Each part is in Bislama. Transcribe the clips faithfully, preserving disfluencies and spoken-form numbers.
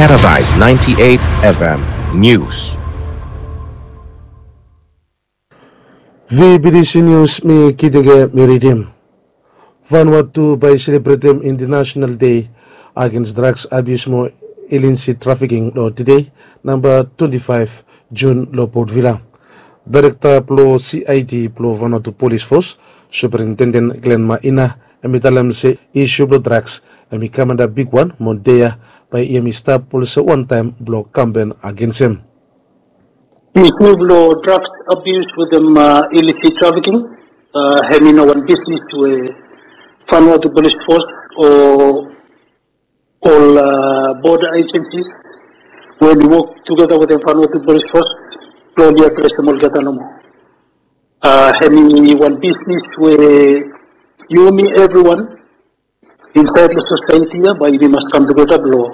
Paradise ninety-eight F M News. V B D C News, mi Kidege mi ridim. Vanuatu bae i selebretem International Day Against Drugs Abuse mo Illicit Trafficking lo tede, namba twenty-five June lo Port Vila. Daerekta blo C I D blo Vanuatu Polis Fos, Superintendent Glenn Maina, hem i talem se isu blo drugs hem i kam antap bigwan mo dei ya bae hem i stap olsem wantaem blo kampen agens hem. Isu blo drugs abuse wetem illicit trafficking, hem i no wan bisnis we Vanuatu Polis Fos o ol border agencies we oli wok tugeta wetem Vanuatu Polis Fos blo oli adresem olgeta nomo. Hem i wan bisnis we yumi evriwan insaed lo sosaeti ya bae yumi mas kam tugeta blo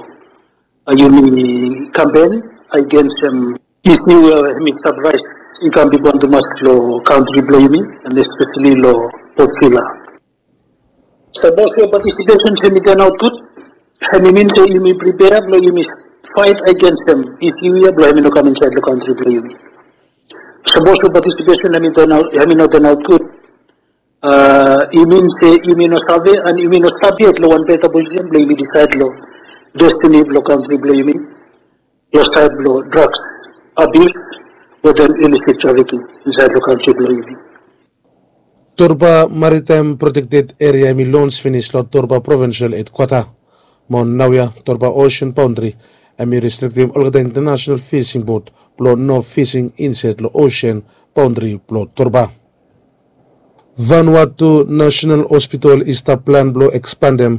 yumi kampen agensem isu we hem i stap raes i kam bigwan tumas lo kantri blo yumi, and espeseli lo Port Vila. Sapos we patisipesens hem i tanaot gud, hem i min se yumi pripea blo yumi faet agensem isu ya blo hem i no kam insaed lo kantri blo yumi. Sapos we patisipesen hem i no tanaot gud, i min se yumi no save and yumi no stap yet lo wan beta posisen blo yumi disaed lo destini blo kantri blo yumi lo saed blo drugs abuse wetem illicit trafficking insaed lo kantri blo yumi. Torba Maritime Protected Area hem i lons finis lo Torba Provincial Hedkwata. Mo naoia Torba Ocean Boundary hem i restriktem olgeta international fising bot blo no fising insaed lo ocean boundary blo Torba. Vanuatu National Hospital i stap plan blo ekspandem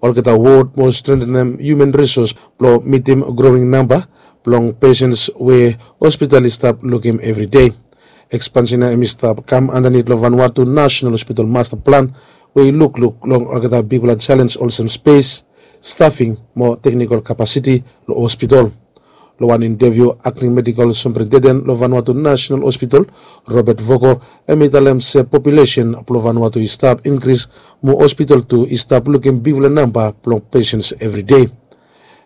olgeta wod mo strengthenem human resource blo mitim growing namba blong pesens we hospital i stap lukim evri dei. Ekspansen ya hem i stap kam andanit lo Vanuatu National Hospital Master Plan we i lukluk long olgeta bigfala jalenj olsem spes, stafing mo teknikol kapasiti lo hospital. Lo wan inteviu, Acting Medical Superintendent lo Vanuatu National Hospital, Robert Voko, hem i talem se populesen blo Vanuatu i stap inkris mo hospital tu i stap lukim bigfala namba blong pesens evri dei.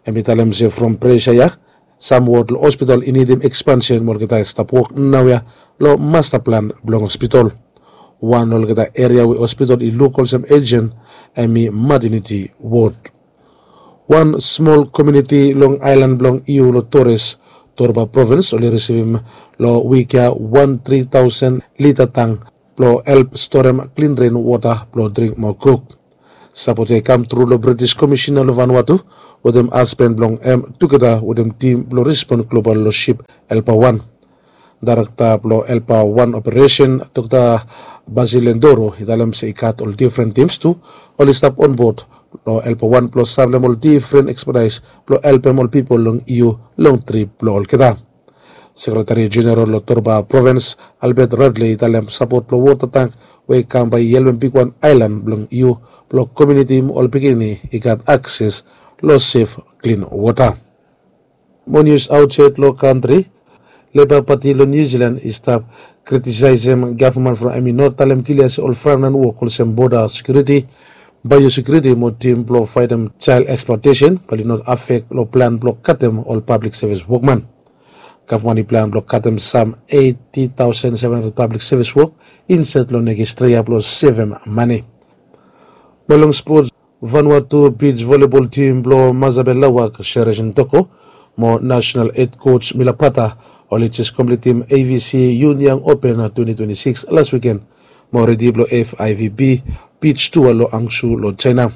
Hem i talem se from presa ya, sam wod lo hospital i nidim ekspansen mo olgeta i stap wok naoia lo masta plan blong hospital. Wan lo olgeta eria we hospital i luk olsem ejen hem i mateniti wod. Wan smol komuniti long aelan blong Iu lo Torres, Torba Provins, oli risivim lo wik ya wan tri taosen lita tang blo help storem klin ren wota blo dring mo kuk. Sapot ya i kam tru lo British Komisina lo Vanuatu wetem hasben blong hem tugeta wetem tim blo rispon global lo sip Helper wan. Daerekta blo Helper wan operesen, Dokta Basil Lendoro, i talem se i gat ol difren tims tu oli stap onbod lo Helper wan blo saplem ol difren ekspertaes blo helpem ol pipol long Iu long trip blo olgeta. Sekretari Jeneral lo Torba Provins, Albert Radley, i talem sapot blo wota tang we i kam bae i helpem bigwan aelan blong Iu blo komuniti mo ol pikinini i gat akses lo sef klin wota. Mo nius aotsaed lo kantri, Leba Pati lo Niu Jilan i stap kritisaesem gavman from hem i no talem klia se ol frontlaen wok olsem boda sekiuriti, baeosekiuriti mo tim blo faetem jael eksplotesen bae oli no afek lo plan blo katem ol pablik sevis wokman. Gavman i plan blo katem sam eiti taosen seven handred pablik sevis wok insaed lo nekis tri yia blo sevem mane. Mo long spots, Vanuatu bij volebol tim blo Masabe Lawak, Sherezin Toko mo nasenal hed koj Mila Pata, oli jes kompletem A V C Yun Yang Open twenti twenti sikis las wiken mo redi blo F I V B bij tua lo Hangzhou lo Jaena.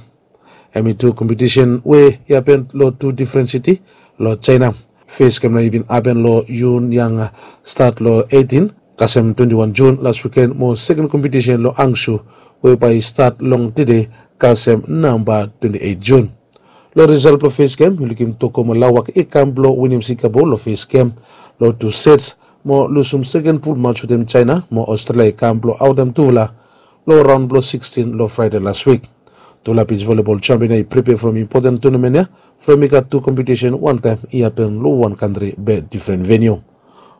Hem i tu kompetisen we i hapen lo tu difren siti lo Jaena. Fes gem nao i bin hapen lo Yun Yang, stat lo eitin kasem twenti wan Jun las wiken mo seken kompetisen lo Hangzhou we bae i stat long tede kasem namba twenti eit Jun. Lo risalt blo fes gem, i lukim Toko mo Lawak i kam blo winim Singapore lo fes gem lo tu sets mo lusum seken pul maj wetem Jaena mo Australia i kam blo aotem tufala lo raon blo sikstin lo Fraede las wik. Tufala bij volebol jampion ya i pripea from impoten tunamen ya from i gat tu kompetisen wantaem i hapen lo wan kantri be difren veniu.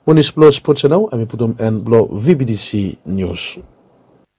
Mo nius blo spots ya nao hem i putum en blo V B D C Nius.